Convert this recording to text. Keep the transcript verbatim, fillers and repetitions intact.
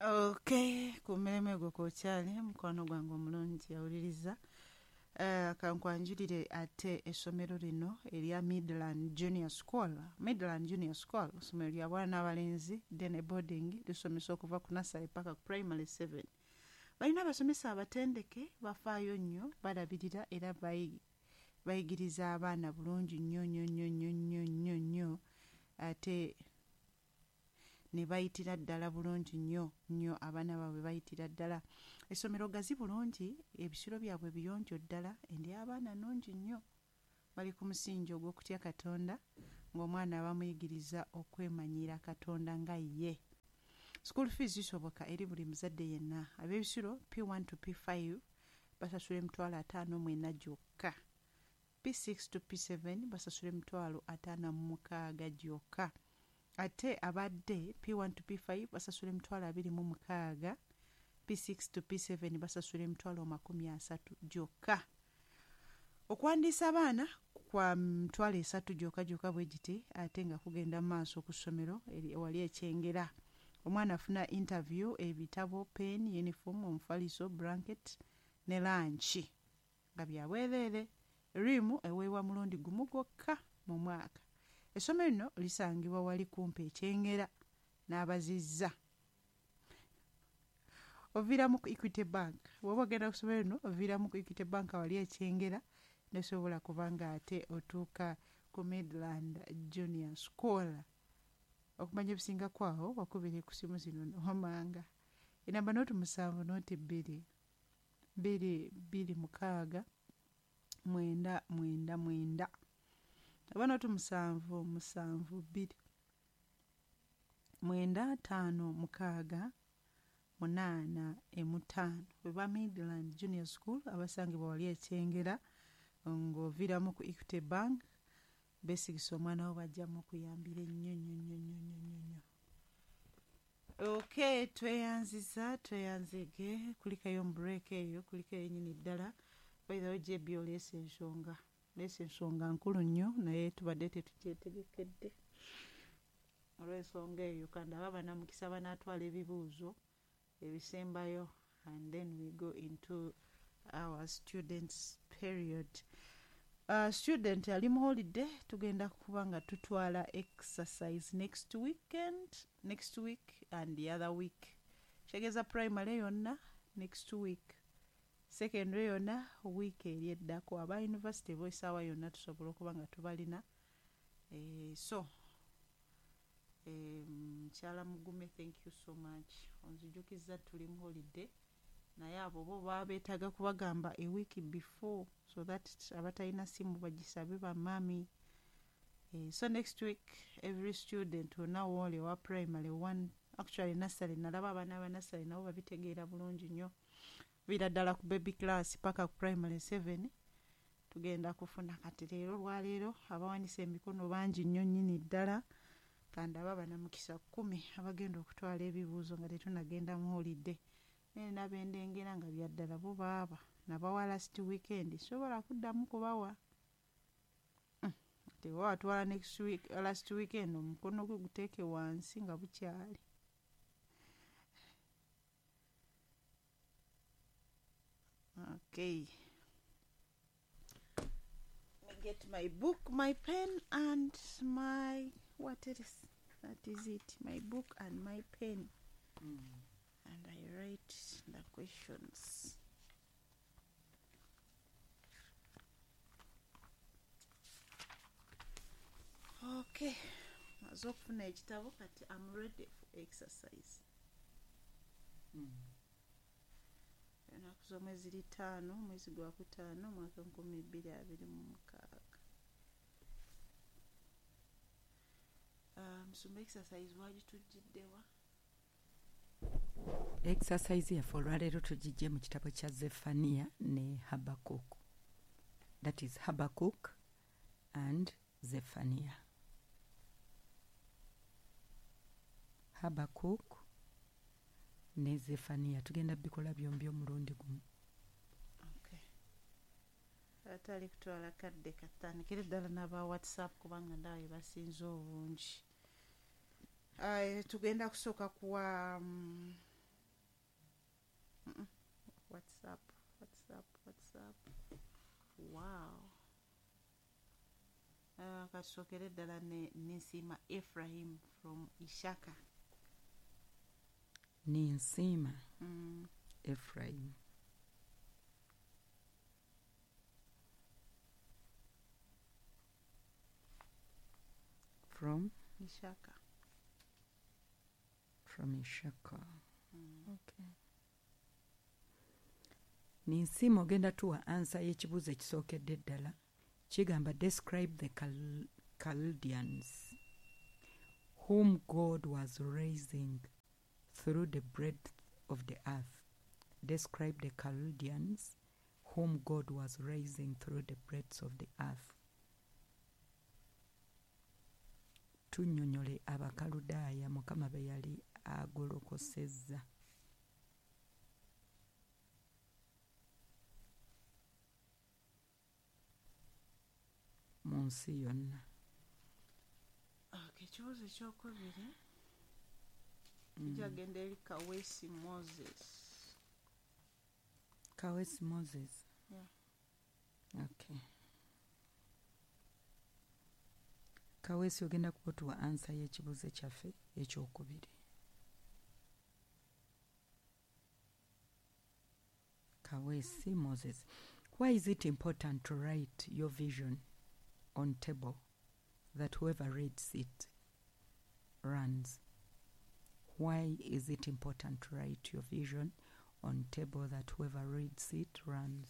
Okay, ku mulimu gwo kwokyali mukwano gwange omulungi awuliriza. Uh, kankwanjulire ate essomero lino erya Midland Junior School. Midland Junior School essomero lya bwana n'abalenzi, day boarding, lisomesa okuva ku nursery paka ku primary seven. Balina abasomesa abatendeke, bafaayo nnyo, balabirira era bayi bayigiriza abaana bulungi nnyo nnyo nnyo nnyo nnyo nnyo nnyo, ate ne bayitira ddala bulungi nnyo nnyo, abaana baabwe bayitira ddala. Essomero gazi bulungi, ebisulo byabwe biyonjo ddala, endya abaana nnungi nnyo. Bali ku musingi ogw'okutya Katonda, ng'omwana bamuyigiriza okwemanyira Katonda nga ye. School fees zisoboka eri buli muzadde yenna. Ab'ebisulo P one to P five basasula emitwalo ataano mu ena gyokka. P six to P seven basasula emitwalo ataano mu mukaaga gyokka. Ate abadde P one to P five basasula emitwalo abiri mu mukaaga, P six to P seven basasula emitwalo makumi asatu gyokka. Okuwandiisa abaana kwa mitwalo esatu gyokka gyokka bwe giti, ate nga kugenda mu maaso ku ssomero ewali ekyengera. Omwana afuna interview, ebitabo, pen, uniform, omufaliso, blanket ne lunch nga bya bwereere. Riimu eweebwa mulundi gumu gwokka mu mwaka. Essomero lino lisangibwa wali kumpi ekyengera n'abazizza. Oviiramu ku Equity Bank. Bw'oba ogenda ku ssomero lino oviiramu ku Equity Bank wali ekyengera, n'osobola kuba nga ate otuuka ku Midland Junior School. Okumanya ebisinga kwawo wakubire ku simu zino wammanga. Enamba nooti musanvu nooti bbiri bbiri bbiri mukaaga mwenda mwenda mwenda, oba nooti musanvu musanvu bbiri mwenda ttaano mukaaga munaana emutaano. Bwe Midland Junior School abasangibwa wali ekyengera ng'oviiramu ku Equity Bank, beesigisa omwana wo bajjamu okuyambira ennyo nnyo nnyo nnyo nnyo nnyo. Okay, tweyanziza tweyanzege, kulikayo mu break eyo, kulikayo nnyini ddala. By the way, J B oleese ensonga, oleese ensonga nkulu nnyo, naye tubadde tetukyetegekedde olw'ensonga eyo. Kandi aba bannamukisa banaatwala ebibuuzo ebisembayo, and then we go into our students period. Uh, student ali mu holiday, tugenda kuba nga tutwala exercise next weekend, next week and the other week. Kitegeeza primary yonna next week, secondary yonna week eri eddako. Aba university bo essaawa yonna tusobola okuba nga tubalina. Eh, so mukyala Mugume, thank you so much. Onzijukizza tuli mu holiday, naye abo bo baba beetaaga kubagamba a week before so that abatalina simu bagisabe bamaami. Eh, so next week every student wonna wooli owa primary one, actually nursery, nalaba abaana ba nursery nabo babitegeera bulungi nnyo, viira ddala ku baby class paka ku primary seven tugenda kufuna. Kati leero olwaleero abawanise emikono bangi nnyo nnyini ddala, kandi aba bannamukisa kkumi abagenda okutwala ebibuuzo nga tetunnagenda mu holiday. Naye n'abendengera nga bya ddala bo baaba nabawa last weekend, sobola kuddamu kubawa. Teba watwala next week, last weekend omukono gwe guteeke wansi nga bukyali. Okay, let me get my book, my pen and my what it is. That is it, my book and my pen. Mm. And I write the questions. Okay, maze okufuna ekitabo kati I'm ready for exercise. Mm. Ennaku z'omwezi ziri ttaano, omwezi gwa kutaano, omwaka nkumi bbiri abiri mu mukaaga. Musumba, exercise wagitujjiddewa? Exercise yaffe olwaleero tugijje mu kitabo kya Zephaniah ne Habakkuk. That is Habakkuk and Zephaniah. Habakkuk ne Zephaniah tugenda bikola byombi omulundi gumu. Okay. Atali kutwala kadde katandikire ddala n'aba WhatsApp kubanga ndaba basinze obungi. Uh, tugenda kusooka kuwa um, WhatsApp, WhatsApp, WhatsApp. Wow. Uh, katusookere ddala ne Ninsiima Ephraim from Ishaka. Ninsiima Mm. Ephraim. From? Ishaka. From Ishaka. Mm. Okay. Ninsiima ogenda tuwa ansa y'ekibuuzo ekisookedde ddala. Kigamba describe the Chal- Chaldeans whom God was raising through the breadth of the earth. Describe the Chaldeans whom God was raising through the breadth of the earth. Tunnyonnyole Abakaludaaya Mukama be yali agolokosezza. Mu nsi yonna. Okay, ekibuuzo ekyokubiri kijagenda eri Kaweesi Moses. Kaweesi Moses. Yeah. Okay. Kaweesi ogenda kuba otuwa ansa y'ekibuuzo kyaffe ekyokubiri. Kaweesi Moses. Why is it important to write your vision on table that whoever reads it runs? Why is it important to write your vision on table that whoever reads it runs?